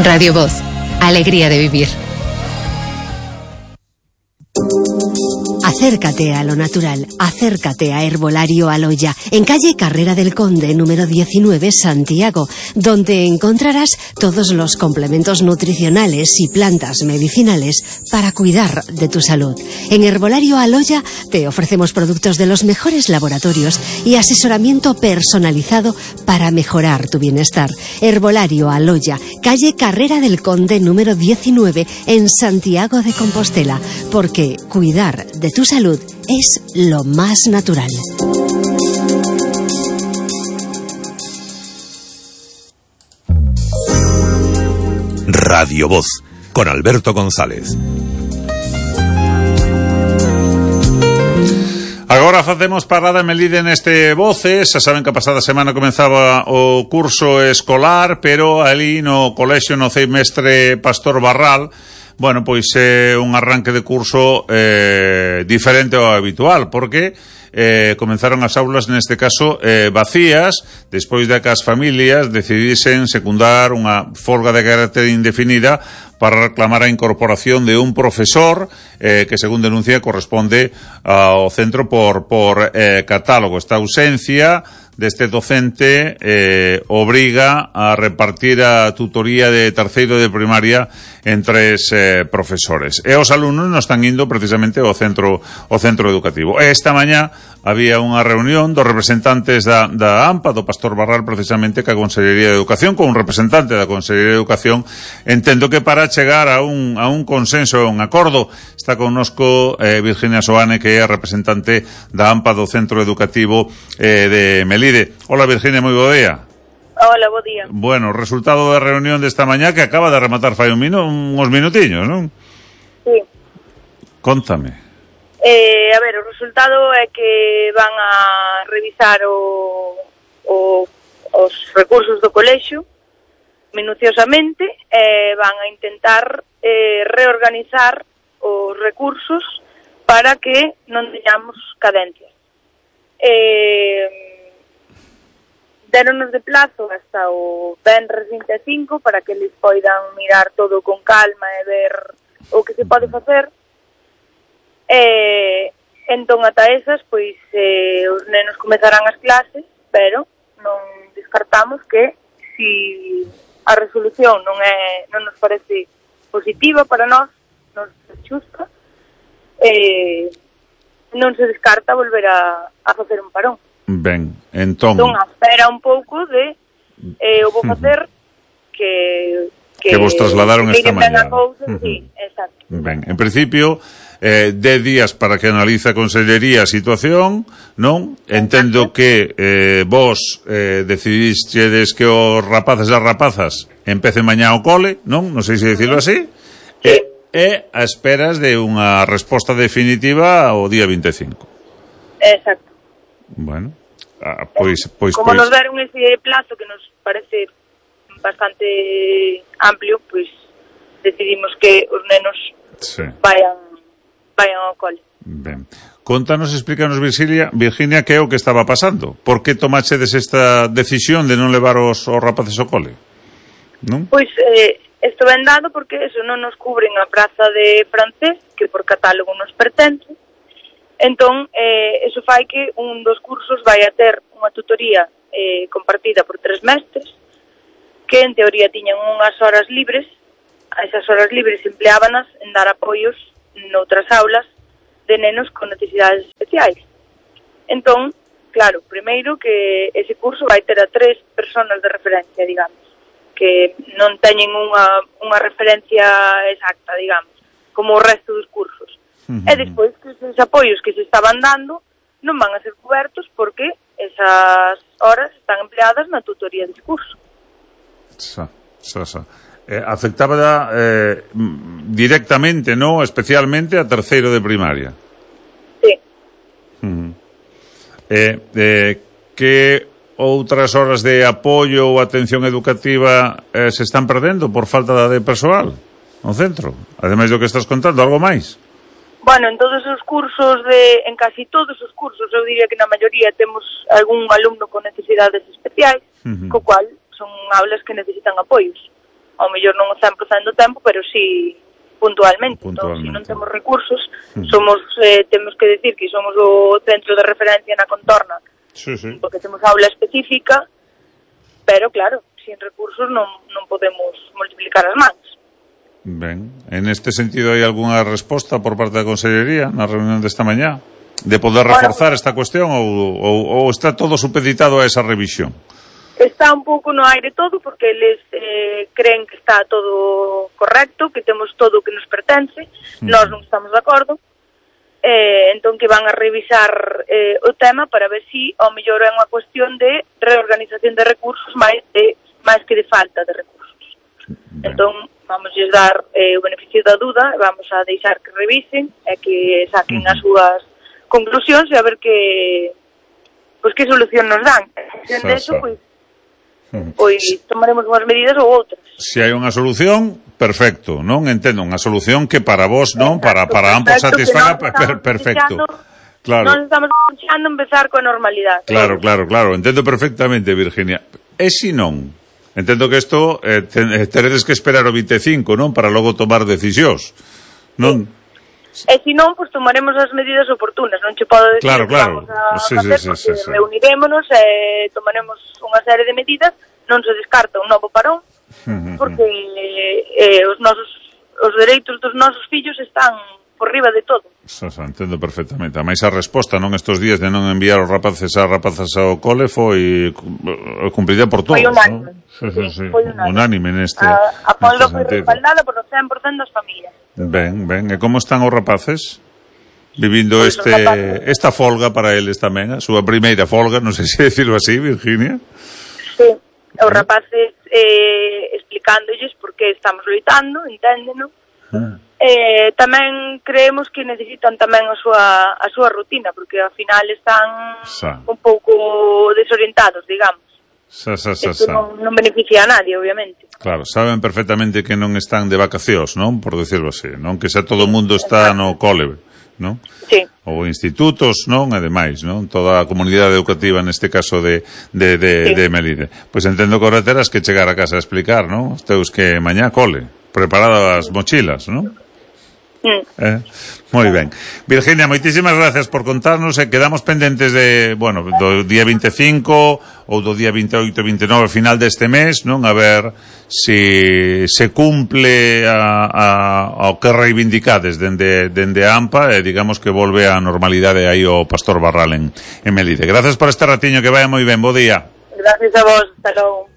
Radio Voz, alegría de vivir. Acércate a lo natural, acércate a Herbolario Aloya, en calle Carrera del Conde, número 19, Santiago, donde encontrarás todos los complementos nutricionales y plantas medicinales para cuidar de tu salud. En Herbolario Aloya te ofrecemos productos de los mejores laboratorios y asesoramiento personalizado para mejorar tu bienestar. Herbolario Aloya, calle Carrera del Conde, número 19, en Santiago de Compostela, porque cuidar de tu salud es lo más natural. Radio Voz, con Alberto González. Agora facemos parada en Melide neste Voces. Xa saben que a pasada semana comenzaba o curso escolar, pero ali no colexio no Ceimestre Pastor Barral, bueno, pois é un arranque de curso diferente ao habitual, porque comenzaron as aulas neste caso vacías, despois de que as familias decidisen secundar unha folga de carácter indefinida para reclamar a incorporación de un profesor que, según denuncia, corresponde ao centro por catálogo. Esta ausencia deste docente obriga a repartir a tutoría de terceiro de primaria en 3 profesores. E os alumnos non están indo precisamente ao centro educativo. Esta mañá había unha reunión dos representantes da AMPA, do Pastor Barral, precisamente, ca Consellería de Educación, con un representante da Consellería de Educación. Entendo que para chegar a un consenso, a un acordo. Está connosco Virginia Soane, que é a representante da AMPA do Centro Educativo de Melide. Hola, Virginia, moi bo día. Hola, bo día. Bueno, resultado da reunión desta mañá que acaba de rematar fai uns minutiños, non? Sí. Contame. A ver, o resultado é que van a revisar os recursos do colexio minuciosamente e van a intentar reorganizar os recursos para que non teñamos cadencias. Déronos de plazo hasta o venres 25 para que eles poidan mirar todo con calma e ver o que se pode facer. Entón, ata esas, pois, os nenos comezarán as clases, pero non descartamos que si a resolución non nos parece positiva para nós, non se xusta, non se descarta volver a facer un parón. Ben, entón a espera un pouco de o vou facer que vos trasladaron esta mañá. Sí, exacto. Ben, en principio 10 días para que analice a Consellería a situación, non? Entendo que vos decidistedes que os rapaces e as rapazas empecen mañá o cole, non? Non sei se dicirlo así. E a esperas de unha resposta definitiva o día 25. Exacto. Bueno, pois como nos deron ese plazo que nos parece bastante amplio, pois decidimos que os nenos vayan ao cole. Ben. Contanos, explícanos, Virginia, que é o que estaba pasando. Por que tomachedes esta decisión de non levar os rapaces ao cole? Non? Pois isto ben dado porque eso non nos cubren a praza de francés, que por catálogo nos pertence. Entón, eso fai que un dos cursos vai a ter unha tutoría compartida por 3 mestres que en teoría tiñan unhas horas libres. A esas horas libres empleábanas en dar apoios noutras aulas de nenos con necesidades especiais. Entón, claro, primeiro que ese curso vai ter a 3 personas de referencia, digamos, que non teñen unha referencia exacta, digamos, como o resto dos cursos. E despois que esos apoios que se estaban dando non van a ser cobertos porque esas horas están empleadas na tutoría desse curso. Afectaba directamente, ¿no? Especialmente a terceiro de primaria. Sí. Que outras horas de apoio ou atención educativa se están perdendo por falta de persoal no centro? Ademais do que estás contando, algo máis? Bueno, en todos os cursos, en casi todos os cursos, eu diría que na maioría temos algún alumno con necesidades especiais, co cual son aulas que necesitan apoios. ao mellor non o 100% do tempo, pero sí puntualmente. Entón, se non temos recursos, temos que decir que somos o centro de referencia na contorna, porque temos aula específica, pero claro, sin recursos non podemos multiplicar as mans. Ben, en este sentido hai algunha resposta por parte da Consellería na reunión desta mañá de poder reforzar esta cuestión ou está todo supeditado a esa revisión? Está un pouco no aire todo, porque eles creen que está todo correcto, que temos todo o que nos pertence, nós non estamos de acordo, entón que van a revisar o tema para ver si ao mellor é unha cuestión de reorganización de recursos máis que de falta de recursos. Entón, vamos a dar o beneficio da duda, vamos a deixar que revisen e que saquen as súas conclusións e a ver que solución nos dan. En de eso, pois tomaremos unhas medidas ou outras. Se hai unha solución, perfecto, non? Entendo, unha solución que para vos, non? Para ambos satisfaga, perfecto. Claro. Non estamos deixando empezar coa normalidade. Claro, entendo perfectamente, Virginia. E se non? Entendo que isto teredes que esperar o 25, non? Para logo tomar decisións, non? E se non, pois tomaremos as medidas oportunas. Non che podo decir que vamos a facer, porque reunirémonos e tomaremos unha serie de medidas. Non se descarta un novo parón, porque os dereitos dos nosos fillos están por riba de todo. Entendo perfectamente. A máis a resposta, non, estes días de non enviar os rapaces a rapazas ao cole foi cumprida por todos, non? Foi unánime neste apoio foi respaldada por o 100% das familias. Ben, e como están os rapaces vivindo esta folga para eles tamén, a súa primeira folga, non sei se decirlo así, Virginia? Sí, os rapaces explicándolles por que estamos loitando, enténdeno. Tamén creemos que necesitan tamén a súa rutina, porque ao final están un pouco desorientados, digamos. Isto non beneficia a nadie, obviamente. Claro, saben perfectamente que non están de vacacións, non? Por decirlo así, non? Que xa todo o mundo está no cole, non? Sí. Ou institutos, non? E demais, non? Toda a comunidade educativa, neste caso de Melide. Pois entendo que ahora terás que chegar a casa a explicar, non? Os teus que mañá cole, preparadas as mochilas, non? Moi ben. Virginia, moitísimas gracias por contarnos e quedamos pendentes do día 25 ou do día 28 e 29 final deste mes, non? A ver se cumple ao que reivindicades dende a AMPA e digamos que volve a normalidade aí o Pastor Barral en Melide. Gracias por este ratiño, que vaya moi ben, bo día. Gracias a vos, hasta logo.